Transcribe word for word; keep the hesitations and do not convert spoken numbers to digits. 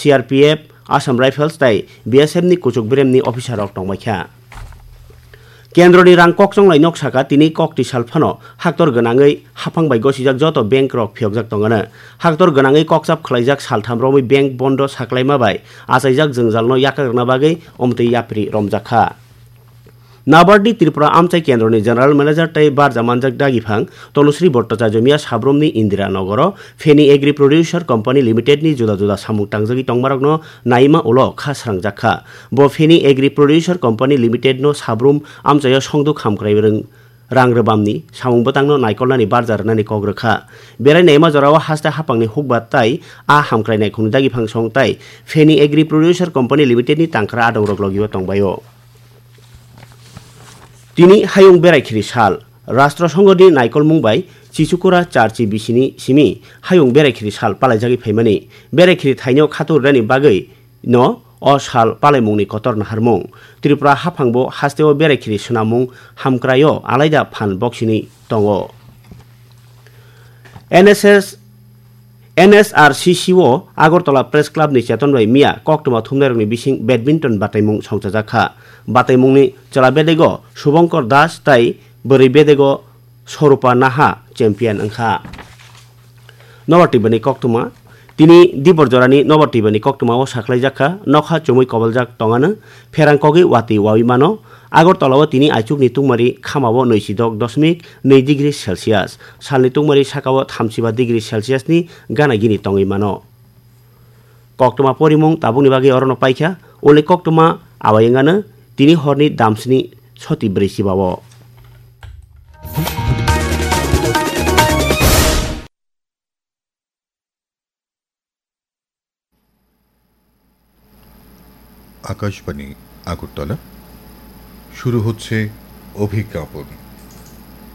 C R P F, Assam Rifles tei B S F ni kuchuk beremni officer rok tongbaikha. Kendroni rang kokchonglai nok saka tini kok twi sal phano haktor gwnangwi haphang bai gosijak joto bank rok phiyokjak tongano. Haktor gwnangwi kokchap khlaijak saltham romwi bank bondo saklaima bai achaijak jwngjalno yakarna bagwi omtwi yapri romjakha. Nabard ni Tripura amchai kendroni General Manager tei barja manjak dagiphang Tanushree Bhattacharya miya sabrumni Indira Nogoro Feni Agri Producer Company Limited ni juda juda samung tangjagwi tongmarokno naima ulo kha srangjakha. Bo Feni Agri Producer Company Limited no sabrum amchaio songduk hamkrai rwng rang rwbamni samung bwtangno naikolnani barja rwnani kok rwkha. Berai naima jorao haste haphangni hukbat tai a hamkrai naikhungni dagiphang song tai Feni Agri Producer Company Limited ni tangkra adongrok logio tongbaio. Tini hayung berai khiri sal. Rashtra Songho ni naikolmung bai Chichukura charchi bisini simi hayung berai khiri sal palaijagwi phaimani. Berai khiri thaino khatur rani bagwi no o sal palaimungni kotor naharmung. Tripura haphangbo hasteo berai khiri swnamung hamkraio alaida phan boksini tongo. N S S, N S R C C o Agartala Press Club ni cheton bai miya koktwma thumnairokni bising badminton bataimung songchajakha. Bataimungni chwla bedego Subhankar Das tai bwrwi bedego Swarupa Naha champion wngkha. Nobar twibani koktwma. Tini dibor jorani nobar twibani koktwmao saklaijakha, nokha chumui koboljak tongano, pherang kogwi watwi wawi mano. Agartala o tini aichukni tungmari khamao nwisidok dosmik nwi degree Celsius, salni tungmari sakao thamsiba degree Celsius ni gana gini tongwi mano. Koktwma porimung tabukni bagwi orono paikha, ule koktwma awai wngano tini horni damsni soti brwi chibao. Akashvani আগরতলা। শুরু হচ্ছে অভিজ্ঞাপন।